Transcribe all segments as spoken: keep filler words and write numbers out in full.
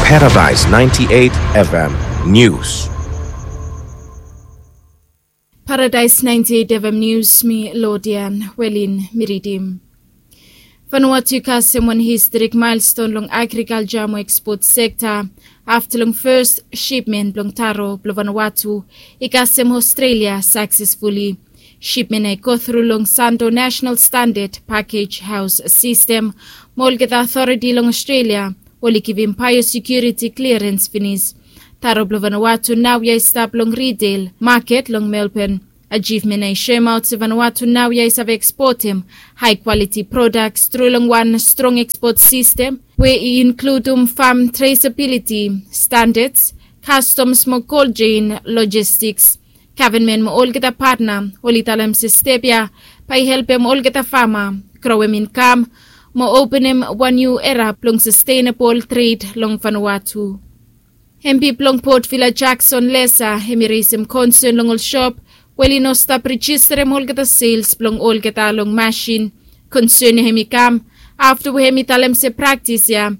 Paradise ninety-eight F M News. Paradise ninety-eight F M News, mi Lodian Welin mi ridim. Vanuatu i kasem wan historik milestone long agrikalja mo ekspot sekta afta long fes shipmen blong taro blong Vanuatu i kasem Australia saksesfuli. Shipmen ya i go tru long Santo National Standard Package House System mo olgeta authority long Australia oli givim biosecurity clearance finis. Taro blong Vanuatu naoia i stap long retail maket long Melbourne. Achievement ya i shoemaot se Vanuatu naoia i save ekspotem high quality products tru long wan strong ekspot system we i inkludum farm traceability standards, customs mo cold chain logistics. Government mo olgeta partner oli talem se step ya bae i helpem olgeta farmer growem income mo openem wan new era blong sustainable trade long Vanuatu. M P blong Port Vila Jackson Lesa hem i resem concern long ol shop we oli no stap registerem olgeta sales blong olgeta long machine. Concern ya hem i kam afta we hem i talem se practice ya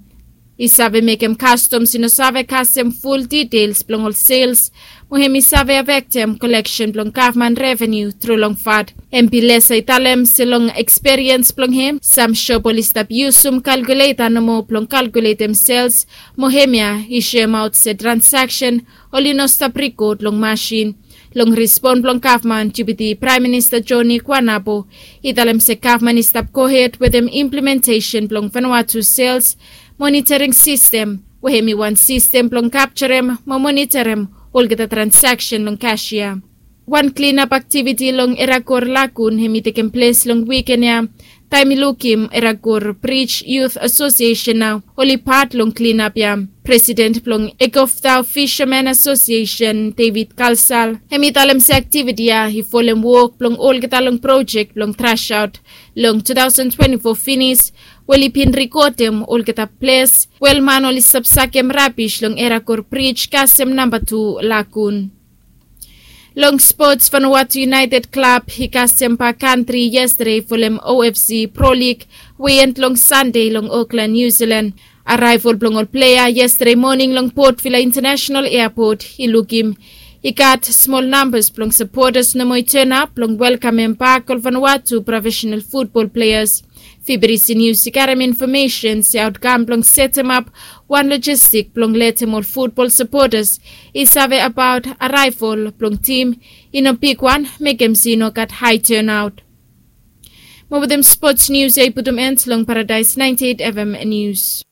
i save mekem customs i no save kasem full details blong ol sales mo hem i save affectem collection blong government revenue tru long fad. M P Lesa i talem se long experience blong hem, sam shop oli stap yusum calculator nomo blong calculatem sales mo hemia i shoemaot se transaction oli no stap record long machine. Long respond blong gavman, Deputy Prime Minister Johnny Guanabo i talem se gavman i stap gohed wetem implementation blong Vanuatu sales monitoring system we hem i wan system blong capturem mo monitorem olgeta transaction long cashier. Wan cleanup activity long Eragor Lagoon hem i tekem ples long wiken ya. Taem i lukim Eragor Bridge Youth Association nao oli pat long cleanup ya. President blong Egovtau Fisherman Association David Kalsal hem i talem se activity ya i folem wok blong olgeta long project blong trash out. Long two thousand twenty-four finis we oli bin rekodem olgeta ples we ol man oli stap sakem rabis long Eragor Bridge kasem namba tu lagoon. Long sports, Vanuatu United Club i kasem bak kantri yestade folem O F C Pro League we i end long Sande long Auckland, New Zealand. Arrival blong ol plea yestade moning long Port Vila International Airport i lukim i gat smol nambas blong supporters nomo i turn up blong welkamem bak ol Vanuatu professional football players. Fibirisi News i karem information se outcome blong setemap wan logistic blong letem ol football supporters i save abaot arrival blong team i no bigwan, mekem se i no gat high turnout. Mo wetem sports news ya i putum end long Paradise ninety-eight F M News.